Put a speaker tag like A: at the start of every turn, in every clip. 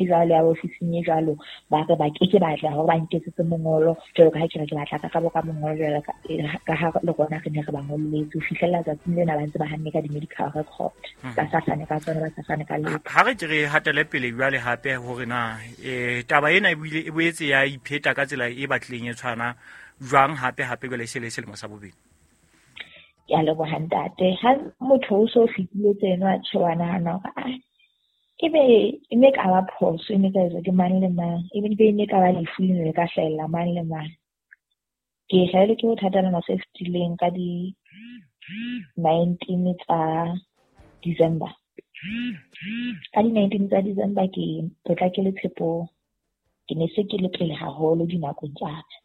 A: Jwalo ya ofising e jwalo, ba re ba keke ba tla hore ba nketsetse mongolo jwalo ka ha ke re ke batla karabo ka mongolo jwalo ka ha le rona re ne re ba ngolletse. Ho fihlella tsatsing lena ba ntse ba hanne ka di-medical record, ba sa fane ka tsona, ba sa fane ka letho.
B: Ha re ke re hatele pele jwale hape hore na taba ena e boetse ya ipheta ka tsela e batlileng e tshwana jwang hape hape jwale e se le selemo sa bobedi.
A: Ke a leboha ntate. Ha motho o so fetile tseno a tjhe wa nahana hore ebe e ne ka ba phoso, e ne ka etswa ke mang le mang, ebe e ne ka ba lefu le ne le ka hlahella mang le mang. Ke hlahelwe ke bothata lemo se fetileng ka di 19 tsa December. Ka di 19 tsa December ke potlakele Tshepong. Ke ne se ke le pele haholo dinakong tsa ka.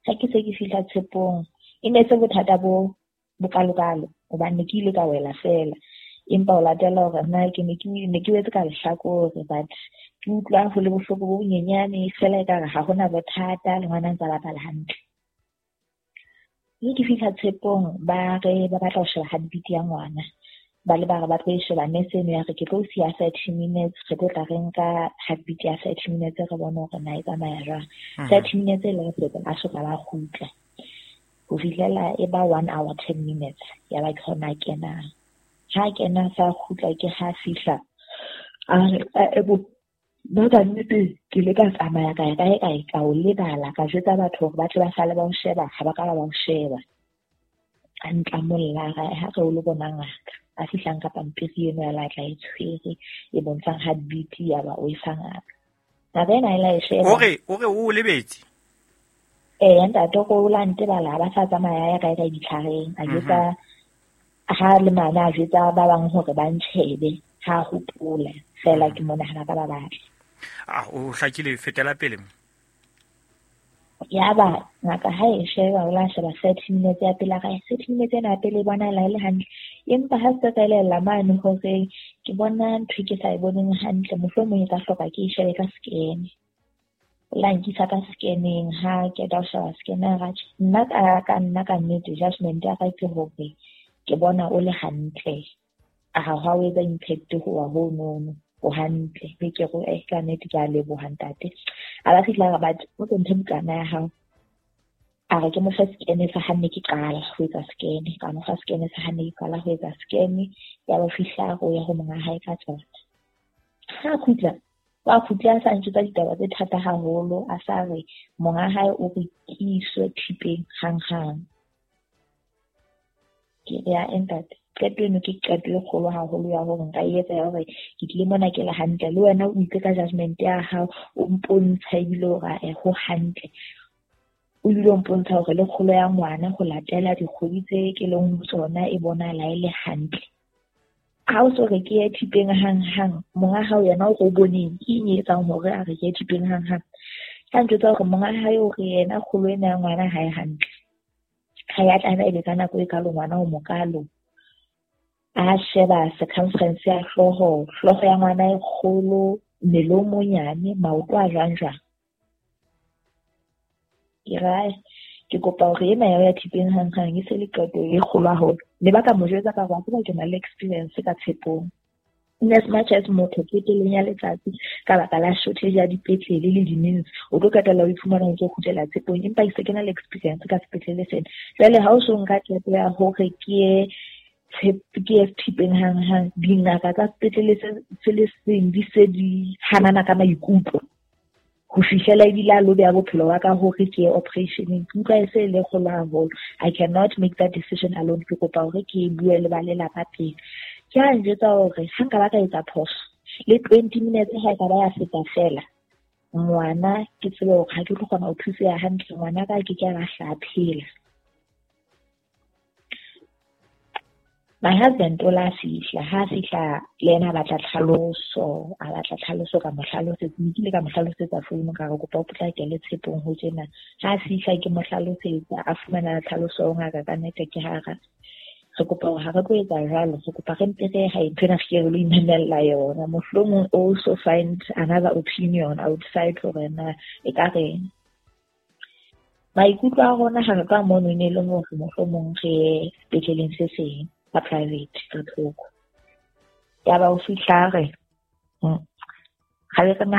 A: Ha ke se ke fihla Tshepong, e ne se bothata bo bokalokalo hobane ke ile ka wela feela. Empa o latela hore nna ke ne ke wetse ka lehlakore, but ke utlwa ho le bohloko bo bonyenyane feela ekare ha hona bothata, le ngwana ntse a bapala hantle. Mme ke fihla Tshepong, ba re ba batla ho sheba heartbeat ya ngwana. Ba le ba re ba tlo e sheba, nurse eno ya re ke tlo siya 30 minutes, re tlo tla re nka heartbeat ya 30 minutes re bone hore na e tsamaya jwang. 30 minutes e le feta a soka ba kgutla. Ho fihlela e ba 1 hour 10 minutes ya ba ke hona kenang. Ha kena sa kgutla ke ha fihla a re nna ka nnete ke ile ka tsamaya ka ya kae kae ka o lebala, ka jwetsa batho hore ba tle ba sale ba o sheba, ha ba ka ba o sheba. A ntlamolla ha re o lo bona ngaka. A fihlang ka pampiri eno ya la tla e tshwere e bontshang heartbeat ya ba o e fa ngaka. Ngaka ena e la e sheba.
B: O re o lebetse?
A: Ntate o la ntebala, ba sa tsamaya ya kae kae ditlhareng. A jwetsa ha le mane a jwetsa ba bang hore ba ntjhebe, ha hopola fela ke mona ha ba ka ba batla.
B: O hlakile, fetela pele.
A: Ya ba ngaka ha e sheba, o la sheba 30 minutes ya pele, ga 30 minutes ena ya pele e bona la e le hantle. Empa ha se ka elella mane hore ke bona ntho ke sa e boneng hantle, mohlomong e ka hloka ke e shebe ka scan. O la nkisa ka scanning, ha ke ta sheba scanner ra tjhe. Nna ka nna ka nnete judgment ya ka ke hore ke bona o le hantle. A ha o etsa impact ho wa ho nono, o hantle. Mme ke re ka nnete ke a leboha ntate. A ba fihla ba o tlo nthe bukana ya hao. A re ke mo fa scan sa ha nne ke qala ho etsa scan, ka mo fa scan sa ha nne ke qala ho etsa scan, ya ba fihla ho ya ho monga hae ka tsona. Ha khutla, wa khutla a sa ntjwetsa ditaba tse thata haholo, a sa re monga hae o re ke iswe thipeng hanghang. Ke re ya ntate, qeto eno ke qeto e kgolo haholo ya hore nka e etsa ya hore ke tlile mona ke le hantle, le wena o itse ka judgment ya hao, o mpontsha ebile hore ho hantle. O ebile o mpontsha hore le kgolo ya ngwana ho latela dikgwedi tse ke leng ho tsona e bonahala e le hantle. Ha o so re ke ye thipeng hanghang, monga hao yena o re o boneng, ke eng e etsang hore a re ke ye thipeng hanghang? Ha ntjwetsa hore monga hae o re yena kgolo ena ya ngwana ha e hantle. Ha ya tlameha ebe ka nako e kalo ngwana o mokalo. A sheba circumference ya hlooho, hlooho ya ngwana e kgolo, mmele o monyane, maoto a jwang jwang. Ke re ke kopa hore ena ya thipeng hanghang e se le qeto e kgolo haholo. Ne ba ka mo jwetsa ka hore wa tseba ke na le experience ka Tshepong. In as much as motho qetellong ya letsatsi ka baka la shortage ya dipetlele le di-means, o tlo qetella o iphumana o ntso kgutlela Tshepong, empa ke se ke na le experience ka sepetlele sena. Jwale ha o so nka qeto ya hore ke ye thipeng hanghang, dingaka tsa sepetlele se le seng di se di hanana ka maikutlo ho fihlela ebile a lo beha bophelo ba ka hore ke ye operation-eng. Ke utlwa e se e le kgolo haholo. I cannot make that decision alone. Ke kopa hore ke bue le ba lelapa pele. Ke a njwetsa hore ha nka ba ka etsa phoso le 20 minutes ha e ka ba ya feta feela, ngwana ke tsebe hore ha ke tlo kgona ho thuseha hantle, ngwana ka ke ke a ba hla phela. My husband o la fihla, ha fihla le yena a batla tlhaloso, a batla tlhaloso ka mo hlalosetsa, ke ile ka mo hlalosetsa founu ka re kopa o potlakele Tshepong ho tjena. Ha fihla ke mo hlalosetsa, a fumana tlhaloso ho ngaka ka nnete ke hara. Re kopa hore ha re tlo etsa jwalo, re kopa re mpe re hae ntho ena re ke re lo imamella yona. Mohlomong also find another opinion outside hore na e ka reng. Maikutlo a rona ha re tloha mono e ne le hore mohlomong re ye sepetleleng se seng ka private ka thoko. Ya ba o fihla re, Ga be re nagana.